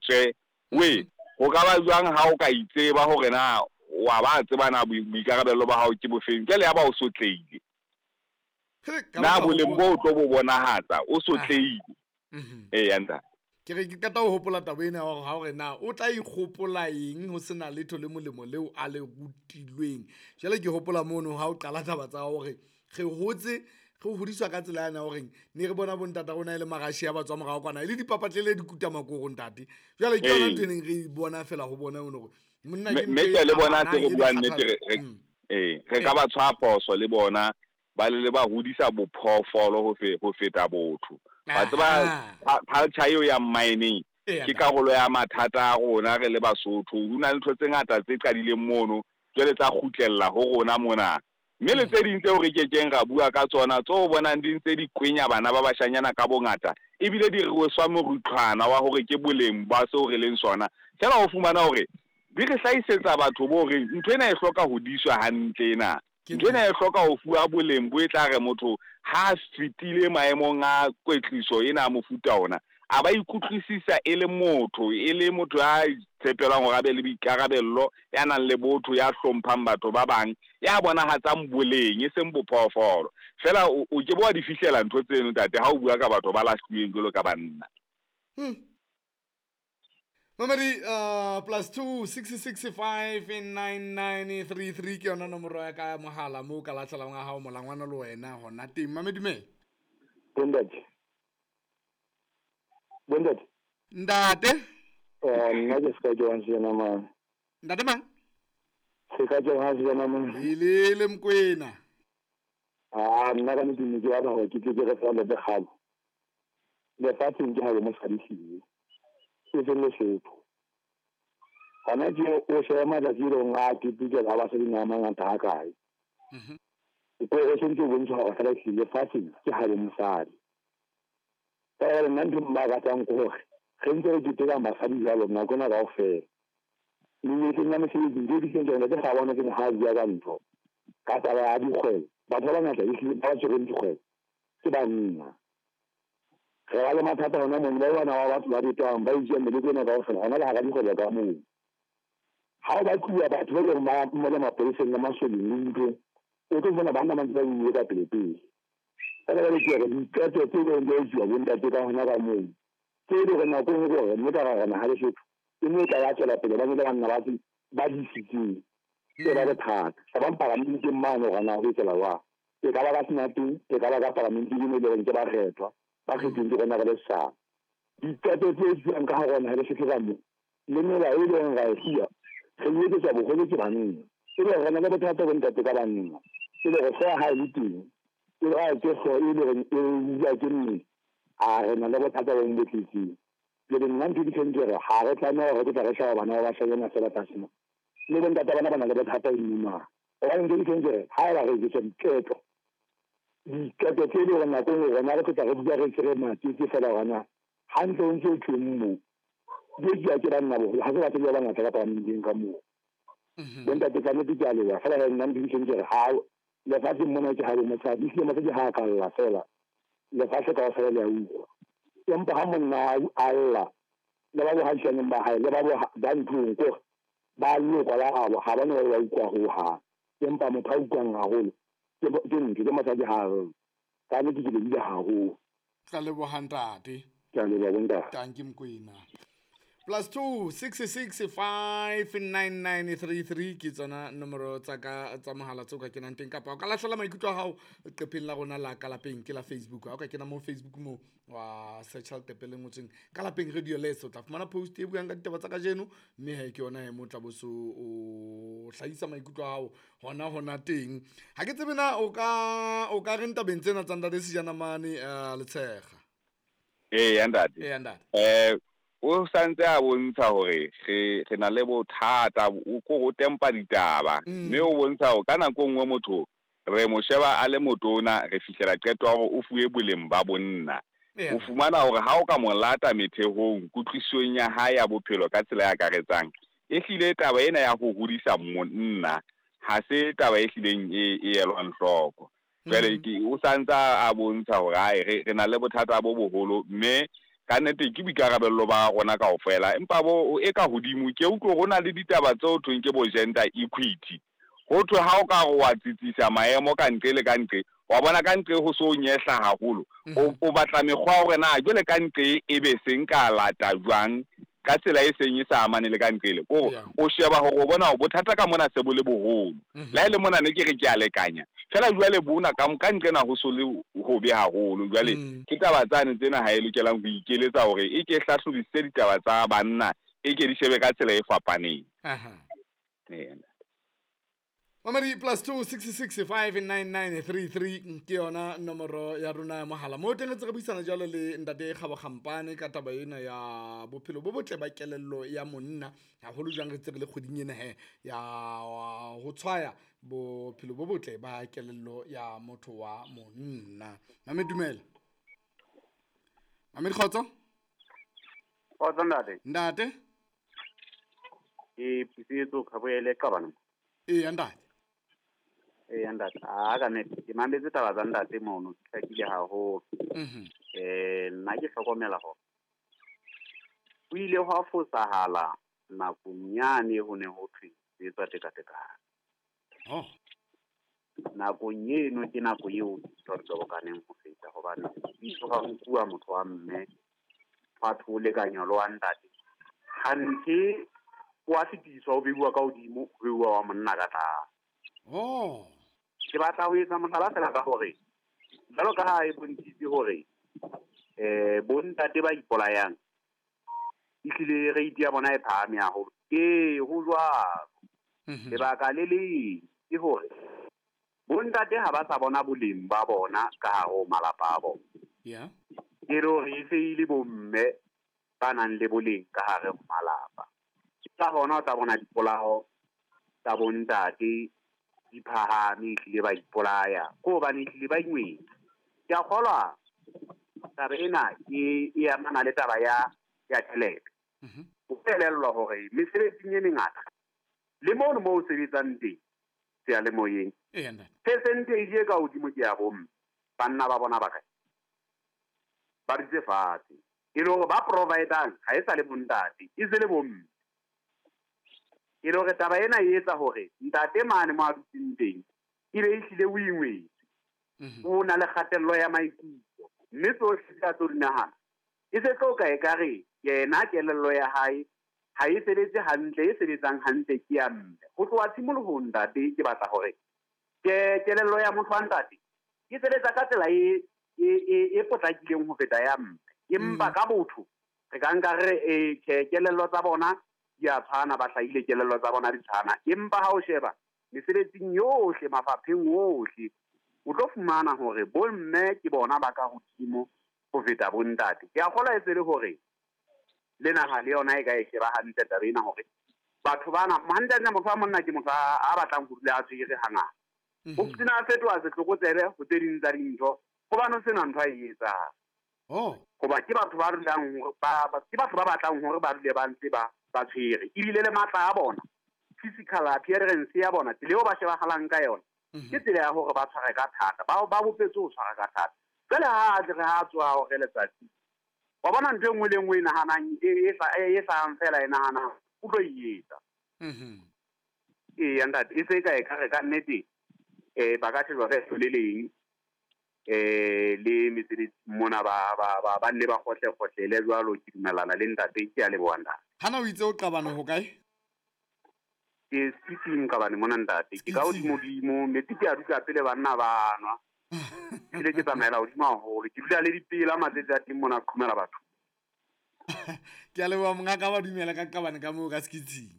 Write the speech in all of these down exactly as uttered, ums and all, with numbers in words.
tswe. We ho ka ba jwang ha o ka itseba hore na wa ba tseba na boikarabelo ba hao ke bofeng, jwale ya ba o sotlehile. Na boleng bo tlo bo bonahatsa o sotlehile. Eh ya ntate. Ke re ke qeta ho hopola taba ena ya hore ha hore na o tla ikgopola eng ho sena letho le molemo leo a le rutilweng. Jwale ke hopola mono ha o qala taba tsa hore re hotse re hodiswa ka tsela yana hore ne re bona bo ntata rona e le marashi a ba tswa morao kwana e le dipapatlele di kuta makoro ntate. Jwale ke yona ntho e neng re bona fela ho bona hore monna ke mme le bona tse re buang nnete re eh re ka ba tshwa phoso le bona ba le ba hodisa bophoofolo ho fe ho feta botho. Ba tseba culture eo ya mining ke karolo ya mathata a rona re le Basotho. Ho na le ntho tse ngata tse qadileng mono jwale tsa kgutlella ho rona mona. Mme le tse ding tseo re kekeng ra bua ka tsona tseo bonang di ntse di kwenya bana ba bashanyana ka bongata ebile di rweswa morutlwana wa hore ke boleng ba seo re leng sona. Fela o fumana hore di re hlahisetsa batho bo reng ntho ena e hloka hodiswa hantle ena. Ntho ena e hloka ho fuwa boleng bo e tla re motho ha fetile maemong a kwetliso ena a mofuta ona a ba ikutlwisisa e le motho, e le motho ya tshepelwang hore a be le boikarabello, ya nang le botho, ya hlomphang batho ba bang, ya bonahatsang boleng e seng bophoofolo. Fela o ke bo wa di fihlela ntho tseno ntate ha o bua ka batho ba lahluweng jwalo ka banna. Mamedi uh, plus two six six five nine nine three three ke yona nomoro ya ka ya mohala moo ka lahlelang wa hao molangwana le wena hona teng. Mamedi dumela. Bontate. Bontate. Ntate. Eh nna ke ska jwang sena mang. Ntate mang? Se ka jwang sena mang. Ile le Mokwena. Ah nna ka nnete ne ke batla hore ke tle ke re fa le bekgalo. Lefatsheng ke ha le mosadi hlile. E seng Lesotho. Hona ke o sheba matsatsi e leng a ketekela ha basadi a mangata ha kae. Mhm. Ko o sentse o bontsha hore fela hlile lefatsheng ke ha le mosadi. Ka hore nna ntho mmakatang ke hore re ntse re keteka basadi jwalo nako ena kaofela. Menyetleng ya mesebetsi ntho e di hleng ke ga bona ke ha bua ka ntho. Ka taba ya dikgwebo, batho ba bangata ehlile ba tshwereng dikgwebo ke banna. Re ba le mathata hona mono, ba bana ba batho ba betwang ba itjea meleko ena kaofela hona le hara dikgwebo ka moo. Ha o batluwa batho ba leng ba mole mapoleseng le masoleng le nthong, o tlo bona banna ba ntse ba ile ka pele pele. Fela jwale ke re diqeto tse leng di etsuwa bo ntate ka hona ka moo. Tse e leng hore nako e nngwe ke hore mme ka hara naha Lesotho e ne e tla ya tswela pele ba ne le banna ba ba disitseng. E ba bothata. Ba bang paramenteng mane hore na ho etsahala jwang. E ka ba ka senateng, e ka ba ka paramenteng e leng ke bakgethwa. Ba kgethweng ke rona re le setjhaba. Diqeto tse etsuwang ka hara naha Lesotho ka moo le melao e leng ra e fuwa re e etsetswa boholo ke banna. E le hore re na le bothata bo ntate ka banna. E le hore hlooho ha e le teng, e le ha ke hlooho e le hore e bua ke mmele, a re na le bothata bo bo tletseng. Jwale nna ntho e ke ke hore ha re tlameha hore re tla re sheba bana ba bashanyana fela tlase mona. Le bo ntate bana ba na le bothata e mona. Hobane ntho e ke ke hore ha eba re etsetswa diqeto, diqeto tse leng hore nako e nngwe rona re tla re bua re tshwere matete fela hore na hantle o ntse o thweng moo. Di etsuwa ke banna boholo, ha se basadi ba bangata ka paramenteng ka moo. Bo ntate ka nnete ke a leboha, fela hee nna ntho e ke ke hore ha lefatsheng mona ke ha bo mosadi, ehlile mosadi ha a ka lla fela lefatshe kaofela le a utlwa. Empa ha monna a lla le ba bohashaneng ba hae le ba ba ntlong kore ba lokwa la habo ha ba ne ba utlwa hohang. Empa motho a utlwang haholo ke ke ntho ke mosadi ha a lla. Ka nnete ke lebohile haholo. Tla leboha ntate. Ke a leboha bontate. Tanki Mokwena. Plus two six six five nine nine three three ke tsona nomoro tsa ka tsa mohala tseo ka kenang teng, kapa o ka lahlela maikutlo a hao leqepheng la rona la ka lapeng ke la Facebook. Ha o ka kena mo Facebook mo wa search leqephe le ngotsweng ka lapeng radio les, o tla fumana post e buang ka ditaba tsa kajeno, mme he ke yona e mo tla bo so o hlahisa maikutlo a hao hona hona teng. Ha ke tsebe na o ka o ka reng tabeng tsena tsa ntate Sejana mane uh, Letshega. Eh ya ntate. Eh ya ntate. Eh o santse a bontsha hore re re na le bothata o ko o tempa ditaba, mme o bontsha hore ka nako nngwe motho re mo sheba a le motona re fihlela qeto ya hore o fuwe boleng ba bonna. O fumana hore ha o ka mo lata methehong kutlwisong ya hae ya bophelo ka tsela e akaretsang, e hlile taba ena ya ho hodisa monna ha se taba e hlileng e e elwang hloko. Jwale ke o santsa a bontsha hore ai re re na le bothata bo boholo, mme Ka nnete ke boikarabello ba rona kaofela, empa bo e ka hodimo ke utlwe ho na le ditaba tseo thweng ke bo gender equity. Ho thwe ha o ka re wa tsitsisa maemo ka ntle le ka ntle, wa bona ka ntle ho so nyehla haholo. O o batla mekgwa ya hore na jwale ka ntle e be seng ka lata jwang ka tsela e seng e sa amane le ka ntle le. Ko o sheba hore o bona hore bothata ka mona se bo le boholo. Le ha e le mona ne ke re ke a lekanya. Fela jwale bona ka ka ntle na ho so le hobe haholo. Jwale ke taba tsane tsena ha e lokelang ho ikeletsa hore e ke hlahlobisise ditaba tsa banna, e ke di shebe ka tsela e fapaneng. Aha. Ee. Mamedi plus two six six five nine nine three three ke yona nomoro ya rona ya mohala. Mo teng re ntse re buisana jwalo le ntate Kgabo Kgampane ka taba ena ya bophelo bo botle ba kelello ya monna, haholo jwang re ntse re le kgweding ena he ya ho tshwaya bophelo bo botle ba kelello ya motho wa monna. Mamedi dumela. Mamedi kgotso? Kgotso ntate. Ntate? Ke Pusetso Khaboele Qabana. Ee ntate. Ee ntate, a ka nnete ke mametse taba tsa ntate mono, di hlakile haholo. Mhm. Eh nna ke hlokomela hore ho ile hwa fosahala nakong yane ho ne ho thwe ho etswa tekatekano. Oh. Nakong eno ke nako eo dintho di tobokaneng ho feta, hobane ho ha nkuwa motho wa mme hwa thwe o lekanywa le wa ntate. Hanthe o a fetiswa, o beuwa ka hodimo, o beuwa wa monna ka tlase. Oh. Ke batla ho etsa mohlala fela ka hore jwalo ka ha e bontshitse hore eh bontate ba ipolayang ehlile rate ya bona e phahame haholo. Ee, ho jwalo. Mhm. Lebaka le leng ke hore bontate ha ba sa bona boleng ba bona ka hare ho malapa a bona. Yeah. Ke re hore e se e le bomme ba nang le boleng ka hare ho malapa. Ka hona o tla bona dipolao tsa bontate di phahame, ehlile ba ipolaya ko hobane ehlile ba ingwetse. Ke a kgolwa taba ena e, e amana le taba ya, ya tjhelete. Mhm. O elellwa hore mesebetsing e mengata le mono moo o sebetsang teng seyalemoyeng, Ee ntate. percentage e ka hodimo ke ya bomme. Banna ba bona ba kae? Ba dutse fatshe. E le hore ba providang ha e sa le bontate, e se le bomme. E le hore taba ena e etsa hore ntate mane mo a dutseng teng e be ehlile o ingwetse. Mhm. O na le kgatello ya maikutlo, mme tsohle tse a tlo di nahana e se tlo ka ekare yena kelello ya hae ha e sebetse hantle, e sebetsang hantle ke ya mme. Ho tloha tshimolohong ntate, ke batla hore ke kelello ya motho wa ntate e sebetsa ka tsela e, e, e, e potlakileng ho feta ya mme. Empa Mm. ka botho re ka nka re, eh, tjhe, kelello tsa bona di a tshwana, ba hlahile kelello tsa bona di tshwana. Empa ha o sheba mesebetsing yohle, mafapheng ohle, o tlo fumana hore bomme ke bona ba ka hodimo ho feta bontate. Ke a kgolwa e se le hore le naha le yona e ka e sheba hantle taba ena hore batho bana, hantle-hantle motho wa monna ke motho a, a batlang ho dula a tshwere hangata. Mhm. Ho sena a fetoha setlokotsebe ho tse ding tsa dintho, hobane ho sena ntho a e etsang. Oh. Hoba ke batho ba dulang hore ba, ba, ke batho ba batlang hore ba dule ba ntse ba, ba tshwere. Ebile le matla a bona, physical appearance ya bona, tsela eo ba shebahalang ka yona, Mhm. ke tsela ya hore ba tshware ka thata. Ba, ba bopetswe ho tshwara ka thata. Jwale ha a tle re ha a tsoha hore letsatsi, wa bona ntho e nngwe le e nngwe e nahanang, e, e hla-, e, e hlahang fela e nahanang, o tlo e etsa. Mhm. Eya ntate, e se e ka e ka re ka nnete, eh, ba ka shejwa ka leihlo le leng, eh, le mesebetsi mona ba, ba, ba, ba nne ba kgohle-kgohlele jwalo. Ke dumellana le ntate, ke a leboha ntate. Hana o itse o Qabane ho kae? Ke Skitsing Qabane mona ntate. Ke ka Skitsing. hodimo-dimo, metsi ke a dutla pele banna ba nwa. Ebile ke tsamaela hodimo haholo. Ke dula le dipela matsatsi a teng mona, qhomela batho. Ke a leboha mongaka, ba dumela ka Qabane ka moo ka Skitsing.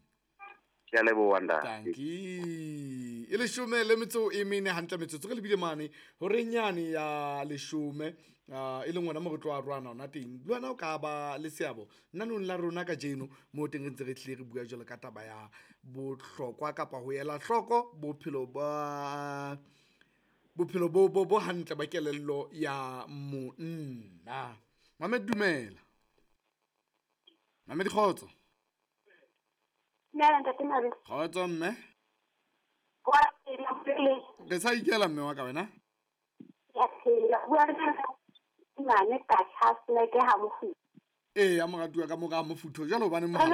Ke a leboha ntate. Tanki. E leshome le metso e mene hantle metsotso re lebile mane horeng yane ya leshome, ah, e leng hona mo re tlo arohana hona teng. Le wena o ka ba le seabo nanong la rona kajeno mo teng re ntse re tlile re bua jwalo ka taba ya bohlokwa kapa ho ela hloko bophelo ba bophelo bo, bo, bo hantle ba kelello ya monna. Mamed dumela. Mamed kgotso. Dumela ntate Mabe. Kgotso mme. Wa phela, mpele. Re sa ikela mme wa ka wena? Ke a phela. Bua le nna mane ka Charles Leke ha Mofu. Ee, ya moratuwa, ka mora mofutho jwale, hobane mohala